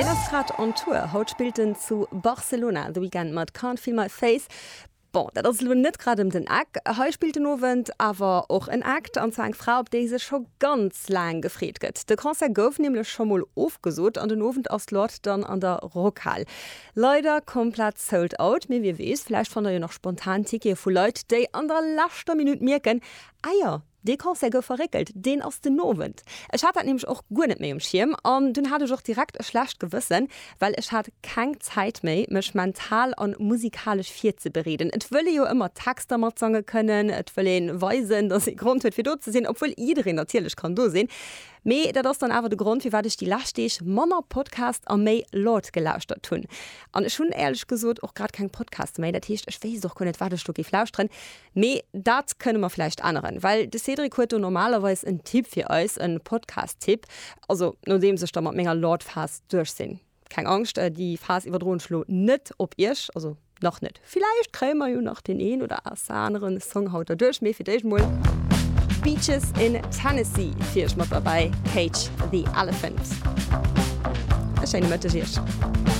Deen ass grad on Tour. Haut spillt en zu Barcelona, The Weeknd mat Can't Feel My Face. Bon, dat ass elo net grad ëm den Eck. Hei spillt den Owend awer och en Act, an zwar eng Fra, op déi sech scho ganz laang gefreet gëtt. De Concert gouf nämlech scho mol ofgesot an den Owend ass d'Lorde dann an der Rockhal. Leider komplett sold out, mee wie weess, vläicht fannt der jo nach spontan Tickete vu Leit, déi an der leschter Minutt mierken, Ah jo, dee Concert gouf verréckelt, deen ass den Owend. Ech hat dat nämlech och guer net méi um Schierm an dunn hat ech och direkt e schlecht Gewëssen, well ech hat keng Zäit méi, mech mental an musikalesch virzebereeden. Et wëll ee jo ëmmer d'Texter matsange kënnen, et wëll ee weisen, dass ee Grond huet fir do ze sinn, obwuel jiddereen natierlech kann do sinn. Mee dat ass dann awer de Grond, firwat ech déi lescht Deeg manner Podcast a méi Lorde gelauschtert hunn. An ech hunn éierlech gesot och grad keng Podcaste méi, dat heescht ech wéisst och guer net, wat ech do géif lauschteren. Mee dat kënne mer vläicht änneren, well de Cédric huet do normalerweis en Tipp fir eis, en Podcast-Tipp. Also nodeems ech da mat menger Lord-Phas duerch sinn. Keng Angscht, déi Phas iwwerdroen ech lo net op iech, also nach net. Villäicht kréie mer jo nach deen een oder aneren Song haut derduerch, mee fir d'éischt mol Beaches in Tennessee fir iech mat derbäi, Cage the Elephant. E schéine Mëtteg iech.